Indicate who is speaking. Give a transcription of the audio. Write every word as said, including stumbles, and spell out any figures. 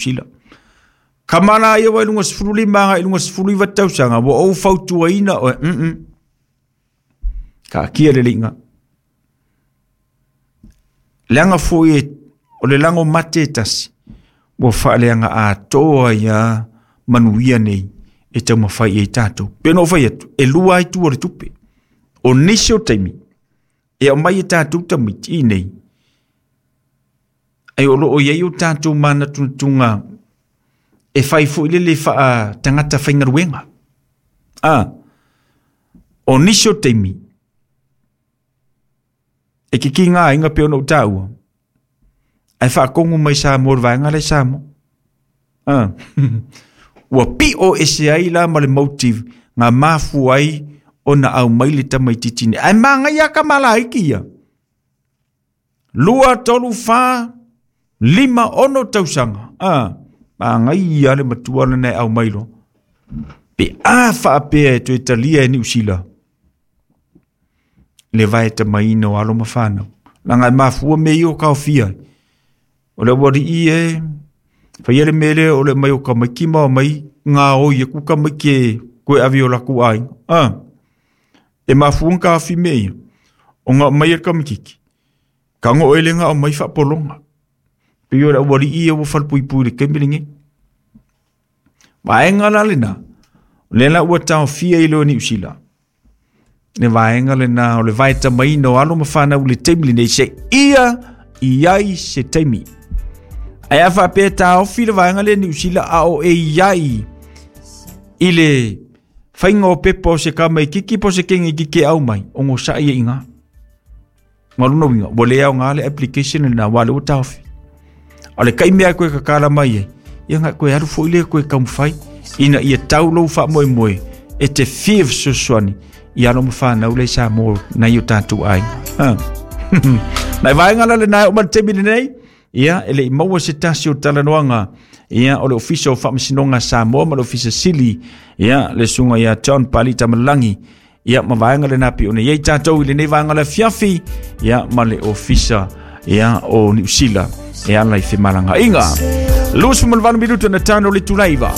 Speaker 1: Sila. Kamala ia wa lunga sefulu lima agai i luga sefulu iva tausaga ua ou fautuaina oe mm taatia le liiga. Leaga foi o le lago mate e tasi ua faaleaga atoa ai manuia nei e taumafai ai tatou. Pe ona ou fai atu, e lua ai itu o le tupe. O nisi o taimi e aumai e tatou tamaiti i nei, ai o loo i ai o tatou manatunatuga e fai foi lele faatagata faigaluega. A, o nisi o taimi e kikiga aiga pe ona ou taua, ae faakogu mai Samoa i le vaega lea i Samoa. A, ua pio ese ai la ma le motive na mafua ai ona aumai le tamaitiiti nei. Ae magaia kamalaiki ia. Lua, tolu, fa, lima, ono tausaga. A, magaia le matua lena e aumai loa. Pe a faapea e toe talia e Niu Sila le vaetamaina o alo ma fanau. Leaga e mafua mea ia o taofia. O le aualii e faia le mea lea o le aumai o tamaiti ma omai gaoi atu tamaiti e toe ave i o latou aiga. A, e mafua ona taofi mea ia, ona aumai e le tamaitiiti, tago oe lea na aumai faapologa. Pei o le aualii ia ua falepuipui i le taimi lenei. Vaega la lena, o lea la ua taofia i loa Niu Sila le vaega lena o le vaetamaina o alo ma fanau i le taimi lenei se ia i ai se taimi. Ae a faapea e taofi le vaega lea Niu Sila a o e i ai i le faiga o pepa o se tamaititi po o se teine itiiti e aumai, ogosa'i ai i ina. Ma lona uiga, ua le aoga le application lena aua o lea ua taofi. A o le taimi lava e toe tatala mai ai, ia na toe alu foi lea toe taumafai ina ia tau lou faamoemoe e te fia fesoasoani i alo ma fanau lea i Samoa nai o tatou aiga. Nai vaega la lena e oo mai le taimi lenei, ia e le i maua se tasi o talanoaga ia o le Ofisa o Faamasinoga a Samoa ma le Ofisa Sili ia le susuga ia John Pali Tamalagi ia ma vaega lena pei ona i ai tatou i lenei vaega o le afiafi ia ma le Ofisa ia o Niu Sila e ala i femalagaaiga. Luasefulu ma le valu minutu na tano le itula e iva.